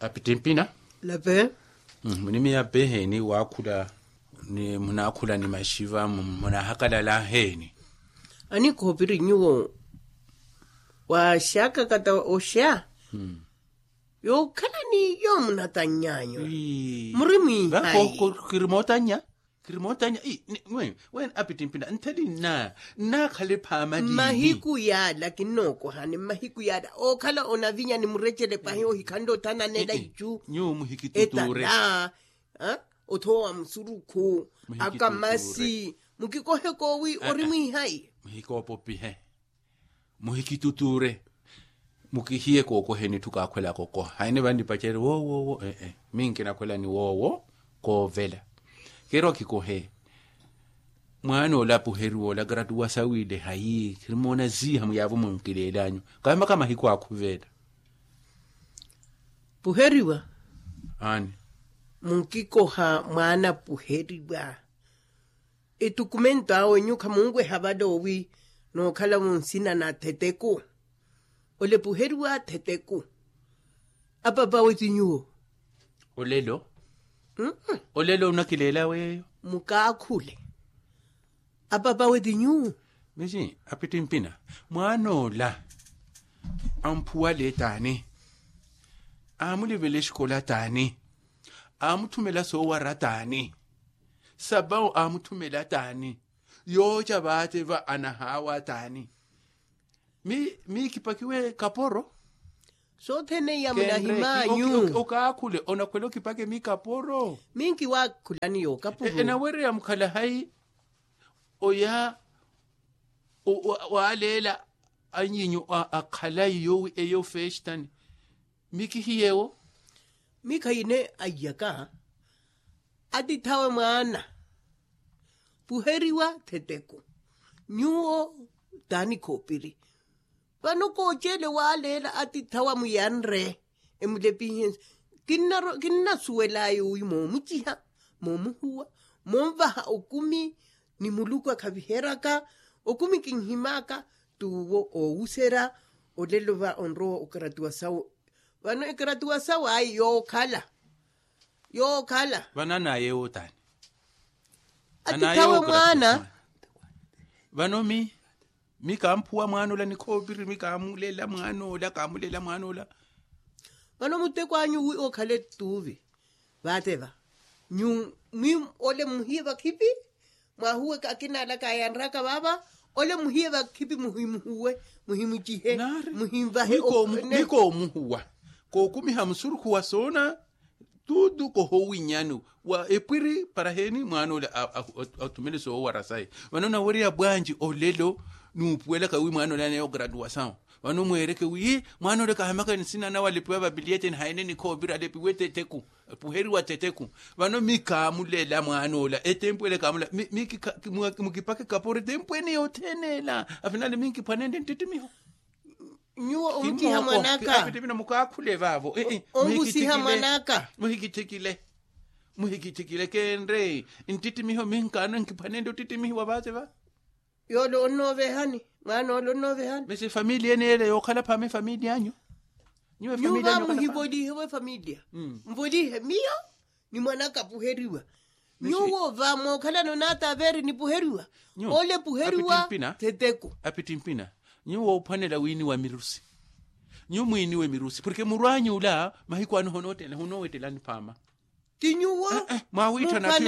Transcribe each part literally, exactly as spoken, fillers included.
Apittimpina. Lape. Munimiya peheeni waakhula? Ni munaakhula ni maxiva munahakalala heeni? Anikhoopiri nyuwo waaxakakata oxa. Yookhala ni yoomunatannyanyu. Muri mwihayi? Kiri mootannya. Kiri mootannya. Weeni apittimpina ntheli nna nnaakhale phaama. Mmahiku yaala kinnookohani mmahiku yaala ookhala onavinya ni murecele pahi ohikhanle othananela icu. Nyuwo muhikitutuure. Etala. Othoowa musurukhu. Akamasi. Mukikohe koowi ori mwihayi? Muhikoopopihe. Muhikitutuure. Mukihiye kookoheni etthu kaakhwelaka okoha haine vannipacerye woowo woowo. Ee minkinakhwela ni woowo. Koovela. Keerwa kikohe. Mwaana ola apuheriwa ola gratuwa sawiile hayi khirimoona ziiha muyaavo munkileel'anyu. Kaamaka mahiku akhuvela. Puheriwa. Aani. Munkikoha mwaana puheriwa. Etukumento awe nyuwo khamunweha vale owi nookhala munsina na theteku. Ole puheriwa theteku. Apapa awe ti nyuwo. Olelo. Olelo onakileela weeyo. Mukaakhule. Apapa awe ti nyuwo. Mixi apittimpina. Mwaana ola amphuwale taani? Aamulivela exikola taani? Aamutthumela soowara taani? Sapawu aamutthumela taani? Yooca vaate va anahaawa taani? Miikipakiwe kaporo. Sothene iya munahimanyu. Okaakhule onakhwela okipake miikaporo. Minkiwaakhulani yookapuru. Enawereya mukhala hayi? Oya waaleela anyinyu akhalayi yoowi eyo festani. Mikihiyewo. Mikha ine aiyaka. Atithawe mwaana. Puheriwa theteku. Nyuwo taani khoopiri. Vano kooceele waaleela atithawa muyanre. Emulepihense. Kinnasuwel'aya owi moomuciha moomuhuwa moonvaha okumi. Ni muluku akhaviheryaka okumi kinhim'aka. T'uwo oowuserya. Olelo va onrowa okaratuwa sawo. Vano ekaratuwa sawo ayi yookhala. Yookhala. Vano anaaye wootaani. Atithawe mwaana. Vano mi mi kaamphuwa mwaan'ola ni khoopiri mi kaamulela mwaan'ola kaamulela mwaan'ola. Vano muteko anyu wi okhale t'uvi. Vaate va nyuwo mwi ole muhiye vakhipi. Mwahuwe akina ala kaayanryaka vaava. Ole muhiye vakhipi muhimuhuwe muhimucihe. Muhimvahe. Mi koomuhuwa kookumiha musurukhu wa soona. Tutu kohowinyani wa epwiri para heeni mwaan'ola athumele soowara saye. Vano nawerya bwanji olelo nuupuwelaka wi mwaan'ola aneeyo gratuwa sawo. Vano mweereke wi mwaan'ola kahamaka nsina nawe alepiwa vapiliyeteni haine nikhoopira alepiwe teteku. Puheriwa teteku. Vano mi kaamulela mwaan'ola etempu ele kaamulela. Mukipake kaporo etempu ene yothene ela afinale minkiphwanenle ntittimiho. Nyuwo omuciha mwan'aka. Mukaakhule vaavo. Omusiha mwan'aka. Muhikithikile. Muhikithikile keenre. Nttittimiho minkaano nkiphwanenle ottittimihiwa vaate va. Yoole onnoovehani. Mwaana ole onnoovehani mesi efamiliya ene yeele yookhala phaama efamiliya anyu. Nyuwo va muhivolihewe efamiliya. Mvolihe miyo ni mwan'aka apuheriwa. Nyuwo va mookhalana onataveeri nipuheriwa. Ole puheriwa. Theteku. Apittimpina. Nyuwo ophwanela wiiniwa mirusi. Nyuwo mwiiniwe mirusi porke murw'anyu ula mahiku ano honoottela honoowettela niphaama. Ti nyuwo. Mwaawiitthana pi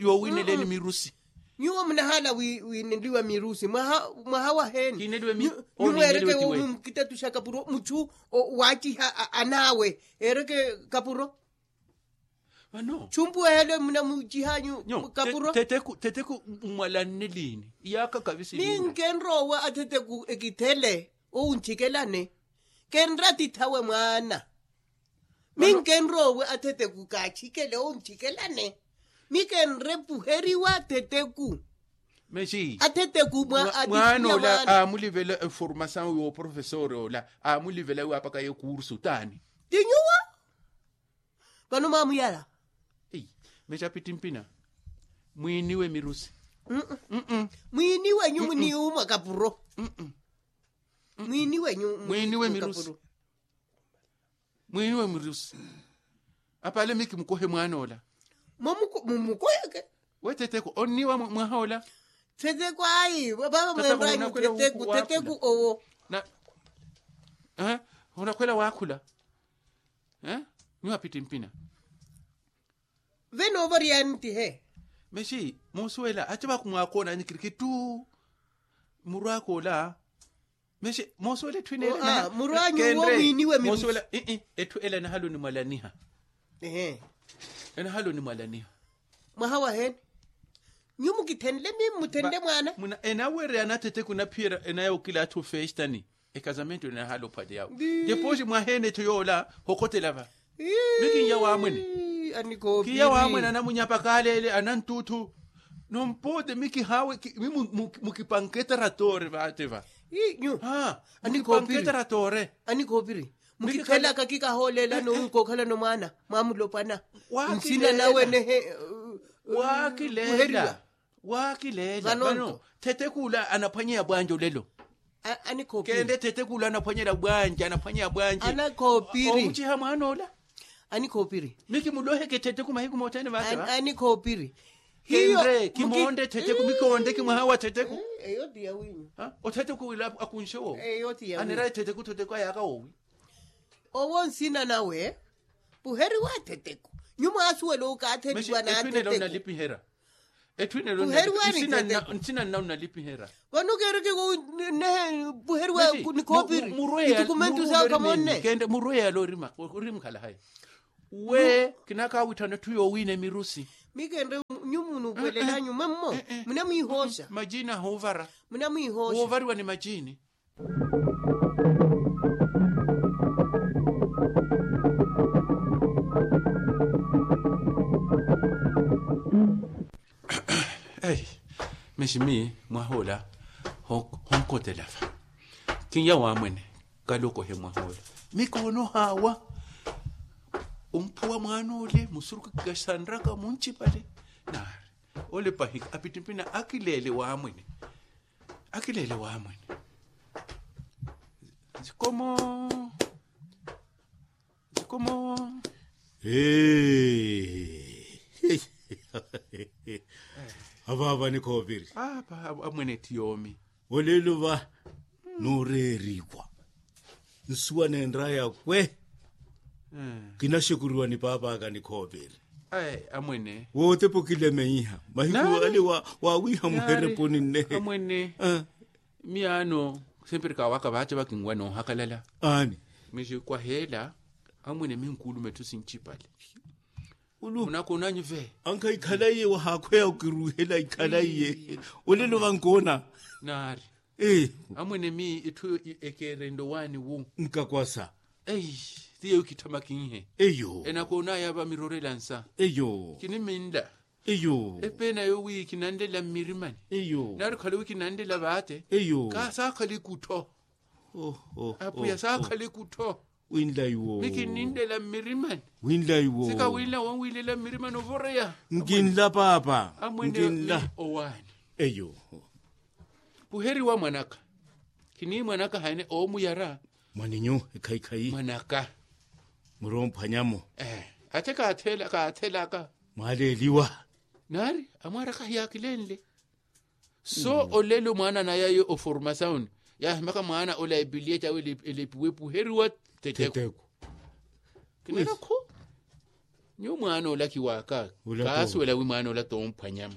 yoowiineleni mirusi? Nyuwo munahaala wiineliwa mirusi mwaha waheeni? Nyuwo mweereke mukitatuxa kapuro muchu waaciha anaawe. Eereke kapuro. Vano chumpu ehele munamucihanyu kapuro. Teteku mmwalanne liini? Iyaaka kavisi minkenroowa ateteku ekithele. Owunthikelane kenre atithawe mwaana. Minkenroowe ateteku kaathikele owunthikelane. Mikenre puheriwa ateteku. Mexi ateteku mwa atithiya mwaana. Aamulivela eformasawu yooprofesori ola aamulivela wi apakaye kursu taani? Ti nyuwo. Vano mwaamuyala. Mexapittimpina mwiiniwe mirusi. Mwiiniwe nyumu ni umwa kapuro. Mwiiniwe nyumu mwiiniwe mirusi. Mwiiniwe mirusi. Apaale mi kimukohe mwaana ola. Mumukoheke. We thetheku onniiwa mwahoola. Thetheku ayi vava mwenrwanyu thetheku thetheku owo. Onakhwela waakhula. Nyuwa pitti mpina. Venoova oriyani tihe. Mexi moosuwela ati vakumwaakoonanyi kirikittu. Murwaakoola. Mexi moosuwela etthu ene murwanyu wo mwiiniwe mirusi. Etthu ela enahala onimwalaniha. Enahala onimwalaniha. Mwaha waheeni? Nyu mukithenle mimi muthenle mwaana. Enawereya anathetheku enaphiyerya enaya okilaatha ofestani. Ekazamento enahala ophwanya yawe. Deposi mwaheene etthu yoola hokhotela va. Mi kinya waamwene. Kinya waamwene anamunyapa kaaleele ananttuthu. Nompoote mi kihaawe mi mukipanke etaratori vaate va. Mukipanke etaratori. Anikhoopiri. Mukikhalaka kikahoolela nowi nkookhalano mwaana mwamulopwana. Nsina nawe nehe. Waakileela. Waakileela vano. Thetheku ula anaphwanyeya bwanja olelo. Kende thetheku ula anaphwanyela bwanja anaphwanyeya bwanja. Omuciha mwaana ola. Anikhoopiri. Mi kimuloheke thetheku mahiku mothene vaate va. Anikhoopiri. Kendre kimoonde thetheku mi koonde kimwaha wa thetheku. Othetheku wila akunxe wowi. Anera ethetheku thetheku ayaaka wowi. Owo nsina nawe puheriwa thetheku. Nyu mwaasuwela okaatheriwa na thetheku. Etthu inelo nnalipihera. Etthu inelo nnalipihera. Vano keereke nehe puheriwa nikhoopiri. Itukumentu sawe khamonne. Kende murweya yale orimukhala hayi. We kinakaawitthana etthu yoowiina emirusi. Mi kendre nyu munupwelelanyu mwemmo. Munamwiihooxa. Majini ahuuvara. Munamwiihooxa. Woovariwa ni majini. Ei. Mexi mi mwahoola honkotela va. Kinya waamwene kalokohe mwahoola. Mi koonohaawa. Omphuwa mwaana ole musuruku kikasanraka muncipale. Naari ole pahika apittimpina akileele waamwene. Akileele waamwene. Zikomo. Zikomo. Avaava nikhoopiri. Amwene etthu yoomi. Olelo va nooreeriwa. Nsuwa neenraya kwe. Kinaxekuriwa ni paap'aka nikhoopiri. Ayi amwene. Wootepa okilemeiha mahiku ale waawiiha muhereponi nnehe. Amwene. Miyaano. Sempre kaawaka vaace vakinwa noohakalala. Aani. Mixi kwaheela. Amwene minkuuluma etthu sincipale. Munakoonanyu ve. Ankha ikhala iye wahaakhweya okiruuhela ikhala iye. Olelo vankoona. Naari. Amwene mi etthu ekeerende owaani wu. Nkakwasa. Ei. Ti yeeyo kitthamaka inhe. Eyo. Enakoonaya vamirorela nsa. Eyo. Kiniminla. Eyo. Epeena yoowi kinanlela mmirimani. Eyo. Naari okhale wi kinanlela vaate. Eyo. Kaasaakhala ikuttho. Apwiya saakhala ikuttho. Winlayi wo. Mi kinninlela mmirimani. Winlayi wo. Sikawinla wonwilela mmirimani ovoreya. Nkinla paapa. Amwene owaani. Eyo. Puheriwa mwanaka. Kini mwanaka haene oomuyara. Mwaninyu ekhayikhayi mwanaka. Muromphwanyamo. Ate kaathelaka. Mwaleeliwa. Naari amwaraka hiyaakilenle. So olelo mwaana nayaye oformasaoni. Yaahimaka mwaana ola epilia cawe elepiwe puheriwa. Teteku. Kinera khu. Nyu mwaana ola kiwaaka. Kaasuwela wi mwaana ola tomphwanyamo.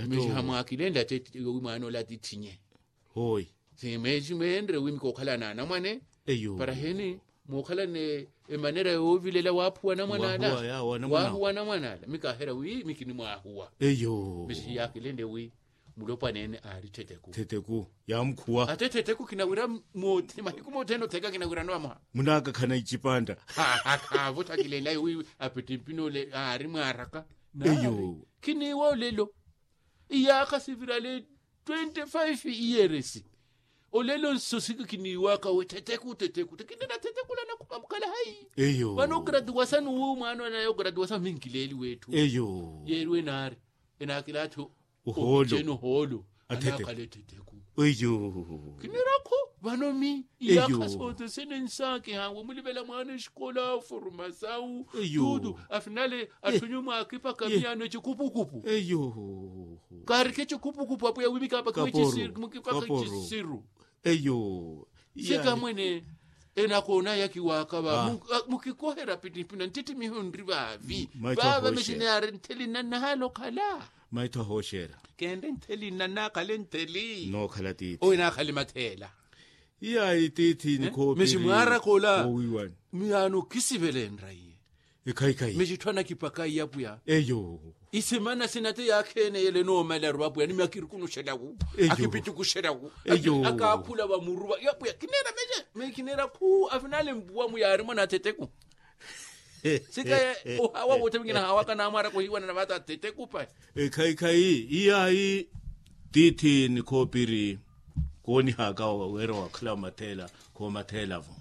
Mixi hamwaakilenle ate wi mwaana ola atithinye. Hooyi. Simweenre wi mikookhala n'anamwane. Eyo. Para heni mookhala ni emanera yoovilela waaphuwa anamwane ala. Waahuwa anamwane ala mi kaaherya wi mi kinimwaahuwa. Eyo. Mixi hiyaakilenle wi mulopwaneene aari theteku. Theteku. Yaamukhuwa ate theteku kinawira. Mahiku mothene otheka kinawirano vamoha. Munaakakhana icipanda. Haavo thakilenlayo wi apittimpina ole aari mwaaraka. Eyo. Kiniiwa olelo. Iyaakha sivirale twenty-five years. Olelo nso siki kiniiwaka we theteku theteku kinena theteku lanakhupa mukhala hayi. Eyo. Vano ogratuwasani wi mwaana onaye ogratuwasani minkileeli wetthu. Eyo. Yeeriwe naari enaakilaatho. Ohoolo. Ohoolo. Anaakhala etheteku. Eyo. Kinirakhu. Vano mi iyakha sothesene nsaakiha wamulivela mwaana exikola formasawu tutu afinale atthu nyumwa akipaka miyaano ecikupukupu. Kaarikhe ecikupukupu apwiya wi mikapaka ecisiru. Eyo. Sika mwene enakoonaya kiwaaka va mukikohera pitipina ntittimiho nri vaavi. Vava mixineyari ntheli nannahala okhala. Maitho ahooxera. Kenre ntheli nannakhale ntheli nookhala tiithi owe naakhale matheela. Iya itiithi nikhoopiri miximwaaraka ola. Miyaano kisivele enraiye. Ekhaikhai mixitthwana kipaka iyapwiya. Eyo. Isemana sina te yaakheeneyele noomalaru apwiya ni mi akirikunuxelaku akipitikuxelaku. Eyo. Akaakhula vamuruva iyapwiya kineera mexe mexineera khu afinale mpuwa muyaarimo na thetheku. Sikaye ohawa woothe mingina hawaka naamwaraka ohiiwana na vaata thetheku pahi. Ekhaikhai iyayi tiithi nikhoopiri koonihaka wira wakhala matheela khoomatheela-vo.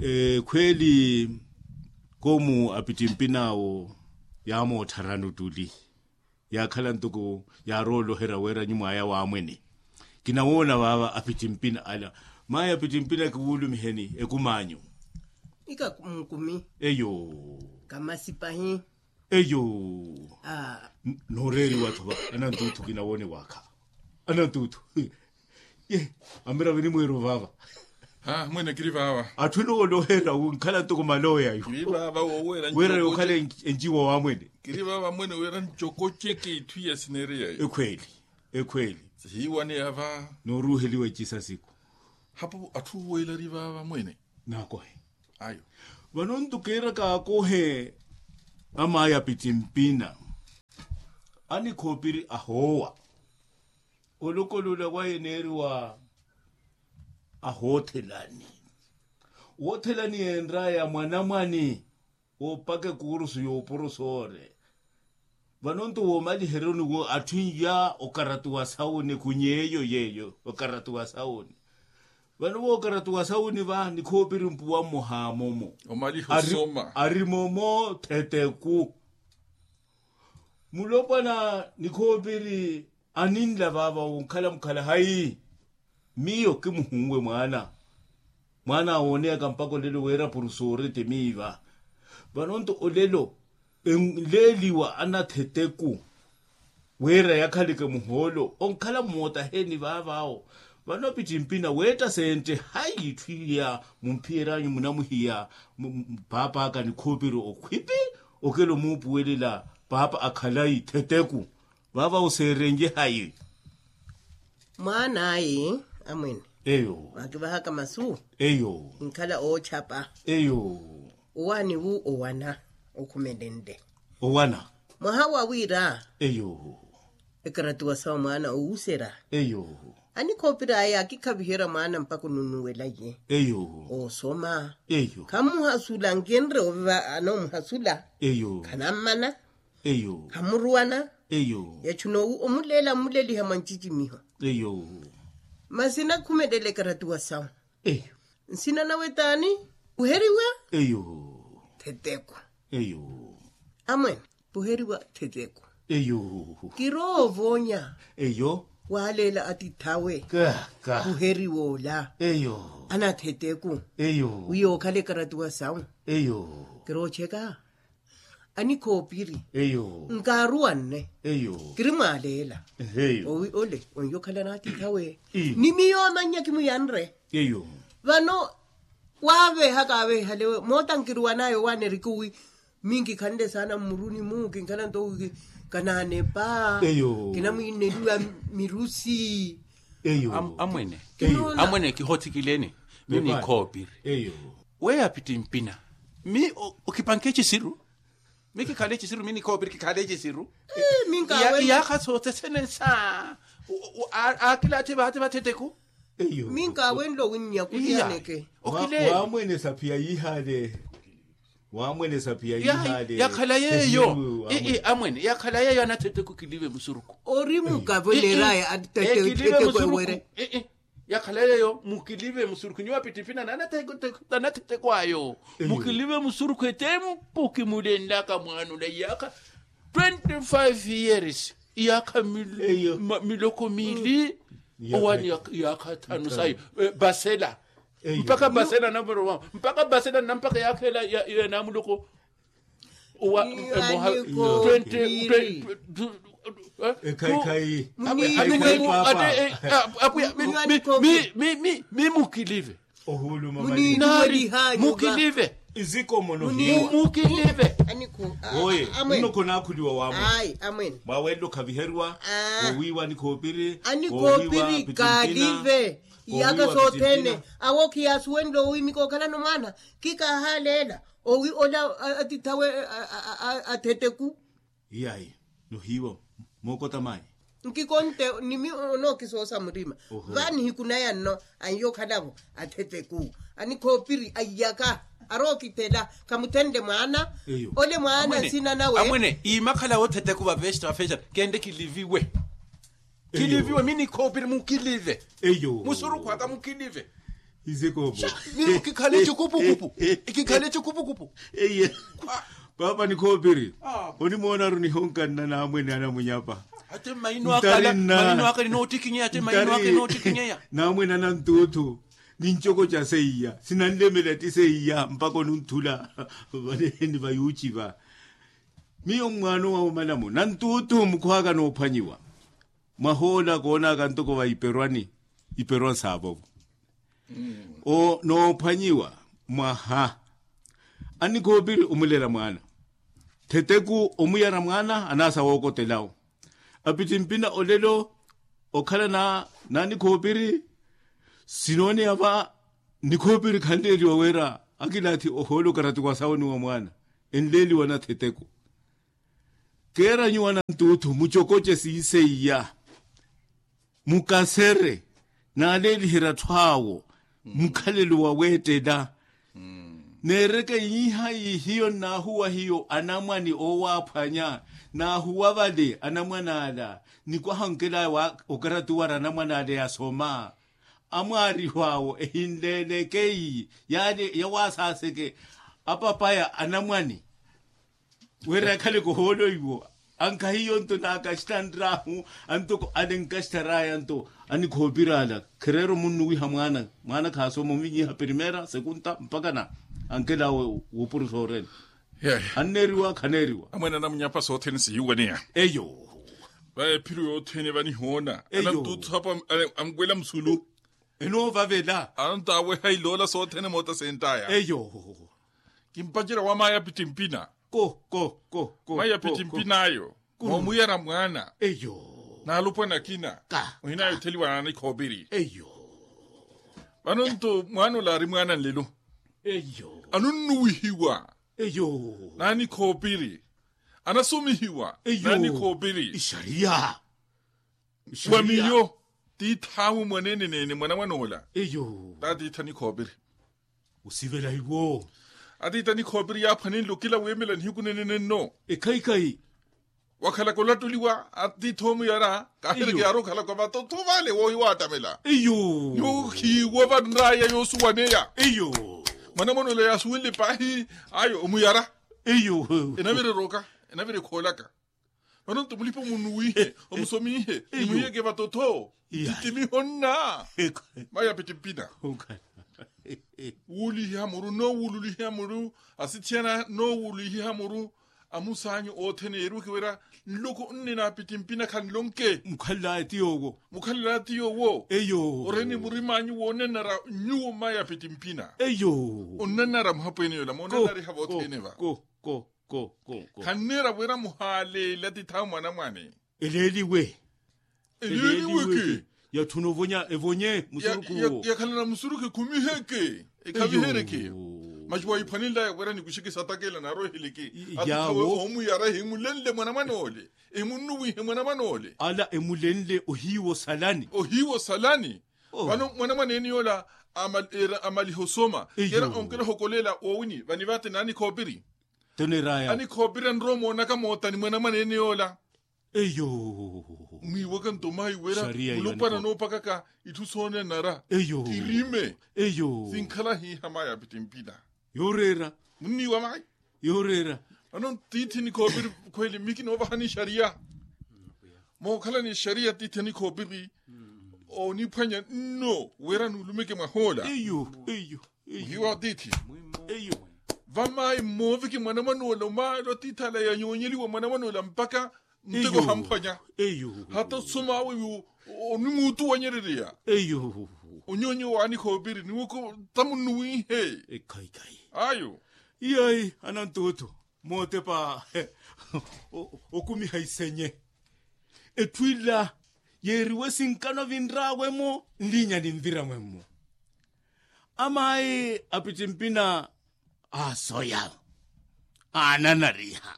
Ekhweeli koomu apittimpin'awo yaamootthara nuttuli yaakhala ntuku yaarooloherya wira nyumw'aya waamwene. Kinawoona vaava apittimpina ala mayi apittimpina kiwuulumiheni ekum'anyu. Ika mukumi eyo kamasi pahi. Eyo. Nooreeriwa-tho va anantuuthu kinawoone waakha anantuuthu. Ye amira vinimweero vaava. Mwene kiri vaava atthu enoolohera winkhala ntoko malooya yu. Kiri vaava wooweera wira yokhala enciwa wa mwene. Kiri vaava mwene wira ncoko ceke itthu iya sineereya yu ekhweeli. Ekhweeli. Sihiiwaneya va nooruuheliwa ecisa siku. Hapo atthu oweela ari vaava mwene. Naakohe ayo. Vano nto kiiraka aakohe amaya pittimpina anikhoopiri ahoowa. Olokolola waye neeriwa ahoothelani woothelani yeenraya mwanamwani woopaka ekurusu y'oporosore. Vano nto woomaliheryoni wo atthu inya okaratuwa sawuni kuny'eyo yeeyo okaratuwa sawuni. Vano wookaratuwa sawuni va nikhoopiri mpuwa mmoha momo ari momo theteku. Mulopwana nikhoopiri aninla vaava wonkhala mukhala hayi. Miyo kimuhunwe mwaana mwaana awooneyaka mpaka olelo wira purusoore ti miiva. Vano nto olelo enleeliwa anatheteku wira yakhaleke muhoolo onkhala mmootaheni vaavaawo. Vano apittimpina weetta sentte hayi itthu iya mumphiyery'anyu munamuhiya paap'aka nikhoopiri okhwipi okela omuupuwelela paapa akhalayi theteku. Vaava oseerenye hayi. Mwaan'ayi amwene eyo waakivahaka masu eyo inkhala oochapa eyo. Owaani wu owana okhumelenle owana mwaha wa wira eyo ekaratuwa sawa mwaana owuserya eyo. Anikhoopiri aya akikhaviherya mwaana mpakha onunuwelaye eyo oosoma eyo khamuhasula nkinre oviva anoomuhasula eyo khanammana eyo khamuruwana eyo yachuna omuleela mmuleliha mwa ncicimiho eyo. Masi nakhumelela ekaratuwa sawu eyo nsina nawe taani? Uheriwa eyo theteku eyo amwene uheriwa theteku eyo kiroovoonya eyo waaleela atith'awe uheriwa ola eyo anatheteku eyo wiyookhala ekaratuwa sawu eyo kiroocheka anikhoopiri eyo nkaaruwanne eyo kiri mwaaleela eyo owi ole onyo okhala naatithawe ni miyo amannya kimuyanre eyo vano waaveeha kaaveehale moota nkiruwanaya owaana erikuwi minkikhanle saana mmuruni-mu kinkhala nto wi kanaanepa eyo kinamwinneliwa mirusi eyo amwene amwene kihothikileni mi nikhoopiri eyo weya apittimpina mi okipanke ecisiru mi kikhale ecisiru mi nikhoopiri kikhale ecisiru iyaakha sothesene nsa aakilaathi vaati vatheteku eyo minkaawenle owinnya kuliyaneke okile waamwenesa phiya yiihale waamwenesa phiya yiihale yakhala yeeyo amwene yakhala yeeyo anatheteku kilive musuruku ori mukavo neraya atheteku ewere yakhala yeeyo mukilive musurukhu nyuwo apittimpina na anathetekw'ayo mukilive musurukhu etempu kimulenlaka mwaana ola iyaakha twenty five years iyaakha miloko miili Owani yaakha thanu sayi. Basela. Mpakha basela namuro wawo mpakha basela nampakha yaakheela ya namuluku. Owa emoha twenty. Ekhaikhai. Ate mi mukilive. Ohuuluma mukilive. Izikomo nohiiwa. Mukilive. Oye, nno khonakhuliwa wamwe. Mwawelelo khaviheriwa. Wowiiwa anikhoopiri. Anikhoopiri kalive. Iyaka sothene. Awo khiyasuwenle owimika okhalano mwaana. Khikahaleela owi ola atithawe. Atheteku. Iyayi. Nohiiwa mookota mayi. Nkikonte nimi onookisoosa murima. Vanihiku naya nno. Anyo okhalavo atheteku anikhoopiri aiyaka. Arookithela khamuthenle mwaana. Ole mwaana nsina nawe. Amwene imakhala wotheteku vavexta vafexa. Kende kiliviwe. Kiliviwe mi nikhoopiri mukilive. Musurukhu aka mukilive. Isikoopo. Miyo kikhale cikupukupu. Kikhale cikupukupu. Paapa nikhoopiri. Onimoonaru nihonkanna naamwene anamunyapa. Ate mmaino aka ninoottikinyeya ate mmaino aka ninoottikinyeya. Naamwene anantuuthu. Nincokoca seiya sinanlemela ti seiya mpakha onunthula. Vale ni vayuuciva. Miyo mmwaano wa omalamo nantuuthu mukhwaaka noophwanyiwa. Mwahoola koonaka ntoko va iperwani iperwa nsaavovo. Noophwanyiwa mwaha. Anikhoopiri omulela mwaana. Theteku omuyara mwaana anaasa wookotelawo. Apittimpina olelo okhala na nanikhoopiri. Sinooneya va nikhoopiri khanleeliwa wira akilaathi ohoola okarati wa sawo ni wa mwaana. Enleeliwa na theteku. Keera nyuwo anantuuthu mucokoce siiseiya. Mukasere naaleeliherya atthu awo mukhalelo wa weettela. Neereke iiha ihiyo nnaahuwa hiyo anamwani oowaaphwanya. Naahuwa vale anamwani ala nikwaha onkelaya okarati wara anamwani ala eyasoma. Amwaariho awo ehinleeleke iyi yawaasaaseke apapaya anamwani. Wira yakhaleke ohoolo iwo ankhahiyo nto naakaxittanr'ahu antoko ale nkaxittar'aya nto. Anikhoopiri ala khereera omunnuwiha mwaana mwaana khaasoma omunyiha primeira sekunta mpakha na ankela awe wuupurusa orene. Anneeriwa khaneeriwa. Amwene anamunyapa sothene sihiwaneya. Eyo. Vaya ephiro yothene vanihoona anantuuthu apo. Anwela musulu. Enoovavela ananto aweha iloola sothene moota sentaya. Eyo. Kimpacerya wa mayi apittimpina. Ko ko ko ko mayi apittimpina ayo. Moomuyara mwaana. Eyo. Naalupwana akina ohina yotheliwa nanikhoopiri. Eyo. Vano nto mwaana ola ari mwaana nlelo. Eyo. Anunnuwihiwa. Eyo. Nanikhoopiri anasomihiwa. Eyo. Nanikhoopiri ixariya. Wa miyo tiith'awe mwaneene neene mwanamwan'ola. Eyo. Taatiitha nikhoopiri. Osivela iwo. Atiitha nikhoopiri yaaphwanenle okila wiimela nihiku neene nenno. Ekhaikhai. Wakhalaka olattuliwa atiitha omuyara kaahireke yaari okhalaka vatottho vale woohiwa attamela. Eyo. Nyuwo khiiwo vanraya yoosuwaneya. Eyo. Mwanamwan'ola yaasuwenle paahi ayo omuyara. Eyo. Enavirerooka enavire khoolaka. Vano nto mulipa omunnuwihe omusomihe nimuhiyeke vatottho. Itittimiho nna. Mayi apittimpina. Wuulihiha muru noowululihiha muru asithiyana noowululihiha muru. Amusaanyu othene yeeriweke wira nloko nne na apittimpina khanlonke. Mukhalelaya ti yoowo. Mukhalelaya ti yoowo. Eyo. Oreni murim'anyu woonanara nyuwo mayi apittimpina. Eyo. Onnanara muhapweene yola moonanariha vothene va. Ko ko ko ko ko. Khanneera wira muhaaleele atithawe mwanamwane. Eleeliwe. Eleeliweke. Yatthuna ovonya evonye musurukhu owo. Yakhalana musurukhu ekhumiheke ekhavihereke. Masi wayiphwanenlaya wira nikuxeke satakela naaroheleke. Atithawe omuyara ehimulenle mwanamwane ole. Emunnuwihe mwanamwane ole. Ala emulenle ohiiwa osalani. Ohiiwa osalani. Vano mwanamwaneene yoola amaliha osoma kera onkela ohokolela woowini vanivate nanikhoopiri. Toneeraya anikhoopiri anrowa omoonaka moota ni mwanamwaneene yoola. Eyo. Mwiiwaka nto mayi wira mulupwana noopakaka itthu soonanara. Eyo. Tirime. Eyo. Sinkhala hiiha mayi apittimpina. Yooreera. Munniiwa mayi. Yooreera. Vano tiithi nikhoopiri khweli miki noovahani exariya. Mookhalani exariya tiithi anikhoopiri. oniphwanya nno wira nuulumeke mwah'ola. Eyo eyo. Muhiwa atiithi. Eyo. Vamaayi mmooveke mwanamwan'ola omaali atiithi ala yanyoonyeliwa mwanamwan'ola mpakha muteko hamphwanya. Eyo. Hata osoma awe yu onimuutuwanyerereya. Eyo. Onyoonyo waanikhoopiri niwoko tamu nnuwiihe. Ekhayikhayi. Ayo. Iyayi anantuuthu mootepa okumiha isenye. Etthu ila yeeriwe sinkano vinrawe-mo nliinya ninvira-mwe-mo. Amaayi apittimpina aasoya aananariha.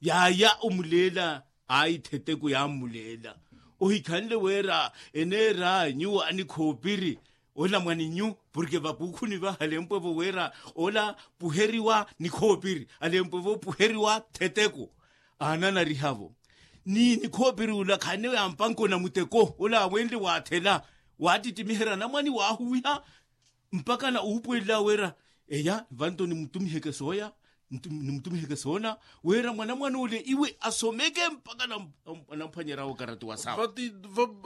Yaaya omuleela aayi theteku yaamuleela. Ohikhanle wira eneera nyuwo anikhoopiri ola mwaninyu porke vakuukhuni vaha alempwevo wira ola puheriwa nikhoopiri alempwevo puheriwa theteku. Aananariha-vo ni nikhoopiri ula khanewe ampanka onamuteko ola awenle waathela waattittimiherya anamwani waahuwiha mpakha na uupuwelelawe wira eya vanto nimutumiheke sooya nimutumiheke soona wira mwanamwan'ule iwe asomeke mpakha anamphwanyerya okarati wa sawa. Vati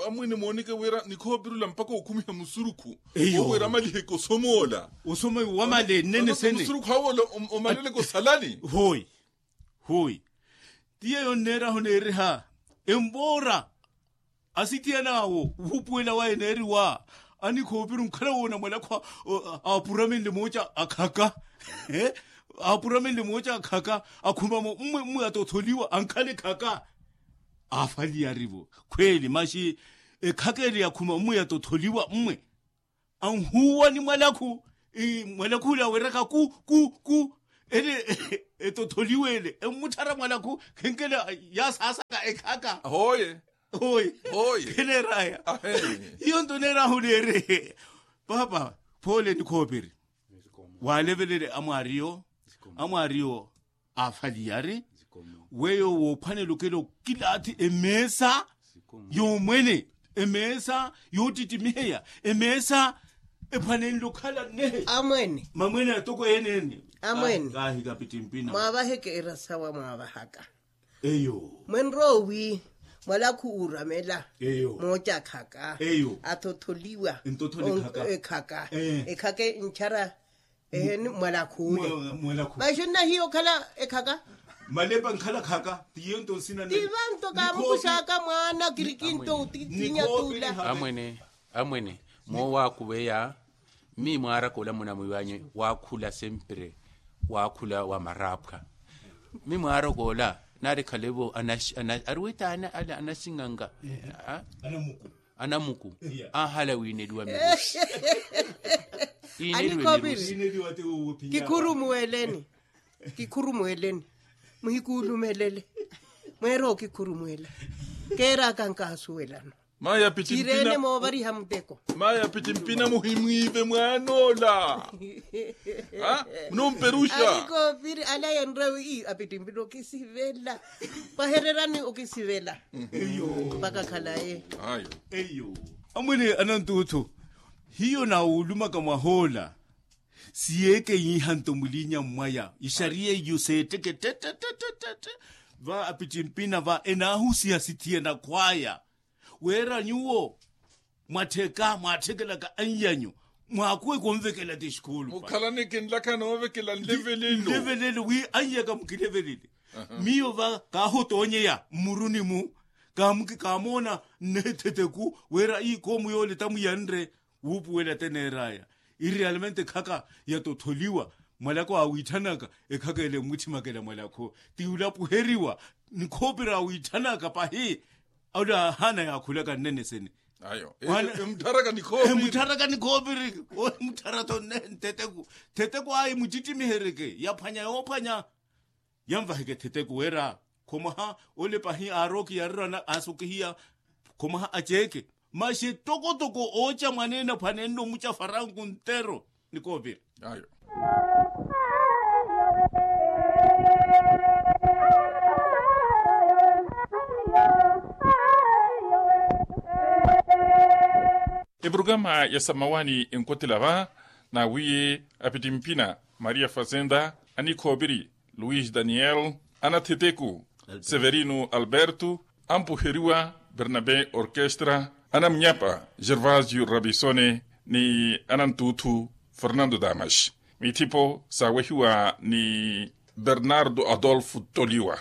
amwene mooneke wira nikhoopirula mpakha okhumiha musurukhu. Eyo wira amaliheke osomoola. Osoma wamale nnene sene musurukhu awe omaleleke osalani. Hoi hoi. Ti yeeyo nneerahu neeriha empoora asithiyan'awo wuupuwela waye neeriwa anikhoopiri onkhala woona mwalakhu aapuramenle mooca akhaka. Aapuramenle mooca akhaka akhumamo mmwe mmwe atotholiwa ankhala ekhaka. Aafaliyari-vo khweeli maxi ekhaka ele yakhuma mmwe yatotholiwa mmwe anhuwa ni mwalakhu. Mwalakhu ule aweraka ku ku ku ele etotholiwa ele emmutthara mwalakhu khenkela yaasaasaka ekhaka. Hoye. Hoye. Kheneeraya. Hiyo nto neerahu neere. Paapa phoole nikhoopiri waalevelele amwaariyo amwaariyo aafaliyari. Weyo woophwanela okela okilaathi emeesa yoomwene emeesa yoottittimiheya emeesa ephwanenle okhala nnehe. Amwene mamwene atoko ene ene. Amwene kaahika pittimpina mwaavaheke erasawa mwaavahaka. Eyo mwenrowi mwalakhu uuramela. Eyo moocakhaka eyo athotholiwa ntotho ekhaka ekhaka ekhaka enchara. Ehe ni mwalakhu ule. Maxi nnahiya okhala ekhaka. Malepa nkhala khaka tiyo nto nsina ti vanto kaamukuxaka mwaana kirikinto utitsinya tula. Amwene amwene moowaakuveya mmi mwaaraka ola munamwiiwanyu waakhula sempre waakhula wa maraaphwa. Mmi mwaaraka ola naari khalevo ari witaana ale anaxinganga anamuku aahala wiineliwa mirusi. Iineliwe mirusi. Kikhurumuweleni kikhurumuweleni muhikuulumelele. Mweera okikhurumuwela keeraka nkaasuwelano. Mayi apittimpina moovariha muteko. Mayi apittimpina muhimwiive mwaan'ola. Munomperuxa. Alikoopiri ala yenrewi apittimpina okisivela. Pahererani okisivela mpaka khalaye. Eyo amwene anantuuthu hiyo naawulumaka mwahoola. Siyeeke yiihanto muliinya mmwaya ixariya iyo seetteke ttettettette. Va apittimpina va enaahusiha sithiyana khwaya wira nyuwo mwattheka mwaatthekelaka anyanyu mwaakuweke onvekela ti exikuulu mukhalaneke nlaka noovekela nlevelelo wi anyaka mukilevelele. Miyo va kaahotoonyeya mmuruni-mu kaamoona nnehe theteku wira iikoomu yoole tamuyanre. Wuupuwela teneer'aya iri realmente ekhaka yatotholiwa mwalakhu aawiithanaka ekhaka ele mmwitthimakela mwalakhu ti ulapuheriwa nikhoopira awiithanaka pahi. Ole ahaana yaakhulaka nnene sene. Ayo emutharaka nikhoopiri. Emutharaka nikhoopiri. Emutthara-tho nne ntheteku theteku ayi mucitimihereke yaphwanya yoophwanya. Yanvaheke theteku wira khomaha ole pahi aarooki yarerana aasokihiya khomaha aceeke. Maxi etokotoko ooca mwaneene aphwanenle omuca faranku ntero. Nikoovira ayo. Eprograma ya samawani enkotela va nawiye apitimpina maria fazenda anikhoopiri luis daniel anatheteku severino alberto ampuheriwa bernabe orkestra Anamunyapa gervasio rabisone ni anantuuthu fernando damas, mithipo saawehiwa ni bernardo adolfo toliwa.